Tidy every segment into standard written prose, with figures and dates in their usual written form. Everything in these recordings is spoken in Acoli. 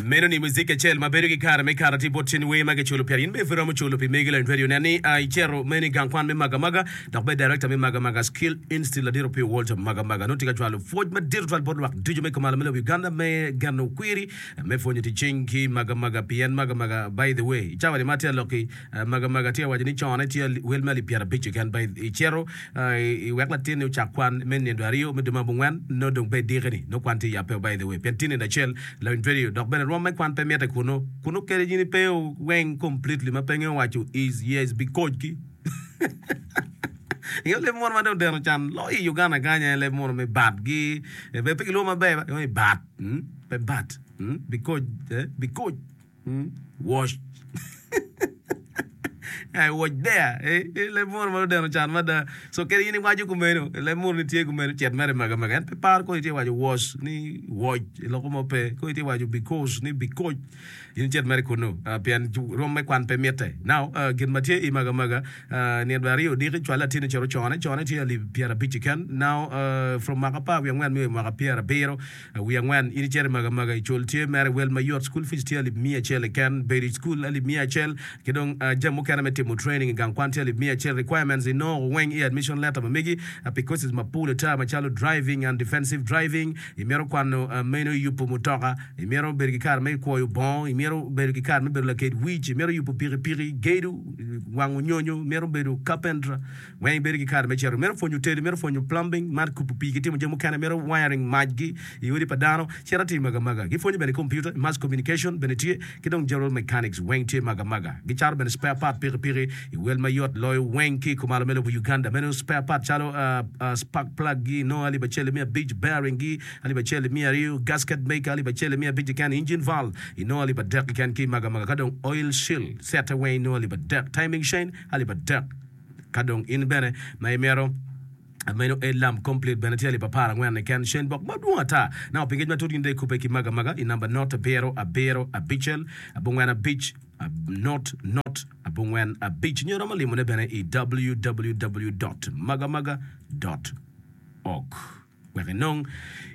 Meno ni muzik acel ma bedo ki kare me kato tye bot cen wer ma kiculo pire. In bene pud iromo culo pi megi lony radio. Nen ni icito meno i gang kwan me Magamaga dok bed director me Magamaga Skill Institute Ladit Opiyo Walter Magamaga nongo tye ka cwalo pwoc madit tutwal bot lwak ducu me kumalo me lobo Uganda me geno kwiri me pwonyo tic cing ki Magamaga pien Magamaga by the way i cawa ni ma atye ka lok-ki Magamaga tye ka waco ni cone tye wel me alip pyerabic keken by icito I wek latinni ocak kwan me nindo aryo me dwe me abongwen, nongo dong pe idiki-ni, nongo kwan tye yabbe by the way, pien tye nindo acel lawiny radio, dok bene rwom me kwan pe mitte kunu. Kunu kadi in ipe weng completely ma pe ingeyo waco is, yes, because ki. Ingeyo leb munu ma dong odeno can loyo i Uganda kany aye leb munu me bat gi, pe gilwongo maber ba, gilwongo ni bat, pe bat, because, because. Wash. I was there. Eh, eh, leb munu ma odeno can mada. So kadi in iwaco kumeno, leb munu ni tye kumeno, cet mere mega mega. En pe paro kong itye waco was ni woc, loko mo pe. Kong itye waco because ni bikoc. In cet mere kunu, ah, pien rwom me kwan pe mitte. Now, ah, gin ma tye i maga maga, ah, nino aryo odiki, cwal latinni cito cone, cone tye alip pyerabic keken. Now, ah, from mwaka apar wiye angwen me mwaka pyerabiro, Wiye angwen, in icito i Magamaga i cul tye mere wel mayot, school fees tye alip miya acel keken, bedo i school alip miya acel, ki dong jami mukene me timo training i gang kwan tye alip miya acel. Requirements inongo weng i admission letter ma megi pi courses mapol ata macalo driving and defensive driving, imito kwano meno yubo mutoka, imito bedo ki kare me kwoyo bongo, imito bedo ki kare me bedo laked wic, imito yubo pikipiki, gedo, wango nyonyo, imito bedo carpenter. Weng ibedo ki kare me cito. Imito pwonyo tedo, imito pwonyo plumbing, man kubo pii ki timo jami mukene, imito wiring macgi i odi pa dano, cit atir magamaga. Gipwonyo bene computer, mass communication bene tye, ki dong general mechanics weng tye magamaga. Gicato bene spare part pikipiki i wel mayot loyo weng ki i kumalo me lobo Uganda. Meno spare part calo spark plug gi inongo alip acel ki miya abic, bearing gi alip acel ki miya aryo, gasket maker alip acel ki miya abic keken, engine valve inongo alip adek keken ki i magamaga, ka dong oil seal sette weng inongo alip adek, timing chain alip adek. Ka dong in bene ma imito meno headlamp complete bene tye alip 14 keken. Shane bok madwong ata. Nako pi ngec matut in dong ikubbe ki Maga Maga i namba not abiro abiro abicel abongwen abic not not abongwen abic nyo iromo limone bene i www dot magamaga dot org. Wek inong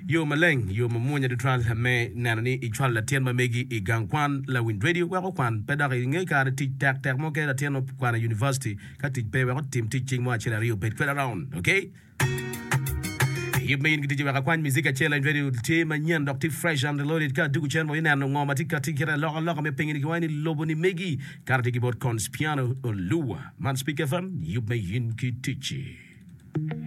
yo maleng, yo mamwonya tutwal me neno ni icwalo latin ma megi i gang kwan, lawiny redio wek okwan. Pe dok inge kare tic tek tek mo kene latin okwano i university ka tic pe wek otim tic cing mo acel aryo obed kwede around. Ok? Yub me in ki ticci wek akwany muzik acel lawiny redio tye manyen dok tye fresh and reloaded ka adugu cen wa ineno ngo ma tye kati kite aloka loka me pinyi ni kiwaco ni lobo ni megi kare tye ki bot Conspiano Oluwa. Man Speak FM, yub me in ki ticci.